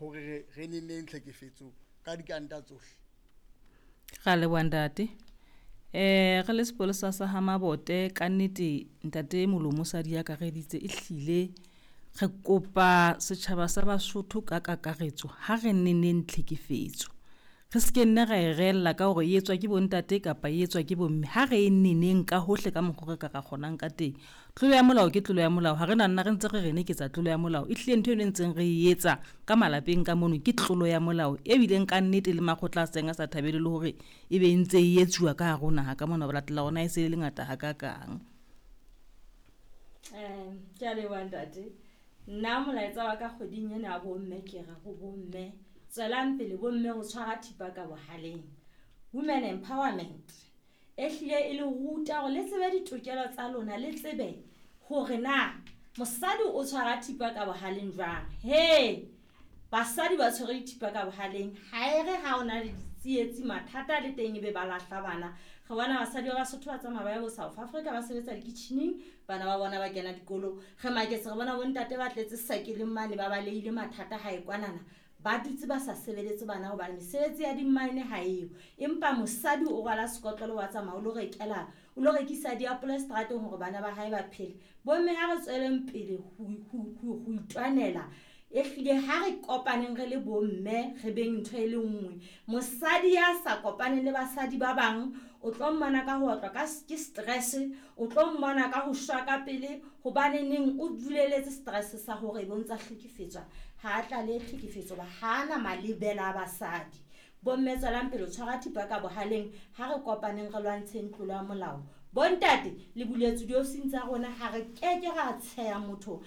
Hore re neneng tlhekefetso ka dikanta tsohle. Ra leboha, ntate. Re le sepolesa sa ha Mabote, kannete ntate Molomo sa di akareditse. Ehlile re kopa setjhaba sa Basotho ka kakaretso, ha re neneng tlhekefetso, re se ke nne ra e reella ka hore e etswa ke bontate kapa e etswa ke bomme. Ha re e neneng ka hohle ka mokgwa re ka ra kgonang ka teng. Tlolo ya molao ke tlolo ya molao, ha re na nna re ntse re re ne ke tsa tlolo ya molao. E hlile ntho eno e ntseng re e etsa ka malapeng ka mono ke tlolo ya molao, ebileng ka nnete le makgotla a seng a sa thabele le hore ebe e ntse e etsuwa ka hare ho naha ka mona, ho latela hore na e se le ngata hakakang. Ke a leboha, ntate. Nna molaetsa wa ka kgweding ena ya bomme, ke re ho bomme, tswelang pele bomme ho tshwara thipa ka bohaleng. Women empowerment e hlile e le ruta hore le tsebe ditokelo tsa lona, le tsebe hore na mosadi o tshwara thipa ka bohaleng jwang. He, basadi ba tshwere dithipa ka bohaleng. Ha e re ha o na le ditsietsi, mathata le teng, ebe ba lahla bana. Re bona basadi ba Basotho ba tsamaya ba ye bo South Africa, ba sebetsa dikitjhining, bana ba bona ba kena dikolo. Re maketse re bona bontate ba tletse sakeleng mane, ba balehile mathata hae kwanana, ba dutse ba sa sebeletse bana hobane mesebetsi ya di-mine ha eyo. Empa mosadi o rwala sekotlolo, wa tsamaya o lo rekela, o lo rekisa diapole seterateng hore bana ba hae ba phele. Bomme, ha re tsweleng pele ho itwanela. Ehlile ha re kopaneng re le bomme, re beng ntho e le nngwe. Mosadi ya sa kopaneng le basadi ba bang, o tlo mmona ka ho otlwa ka ke stress, o tlo mmona ka ho shwa ka pele, hobaneneng o duleletse stress sa hore ebe o ntsa hlekefetswa. Ha a tlalehe tlhekefetso ba ha na malebela a basadi. Bomme, tswelang pele ho tshwara thipa ka bohaleng. Ha re kopaneng, re lwantsheng tlolo ya molao. Bontate, le buletswe diofising tsa rona, ha re keke ra tsheya motho.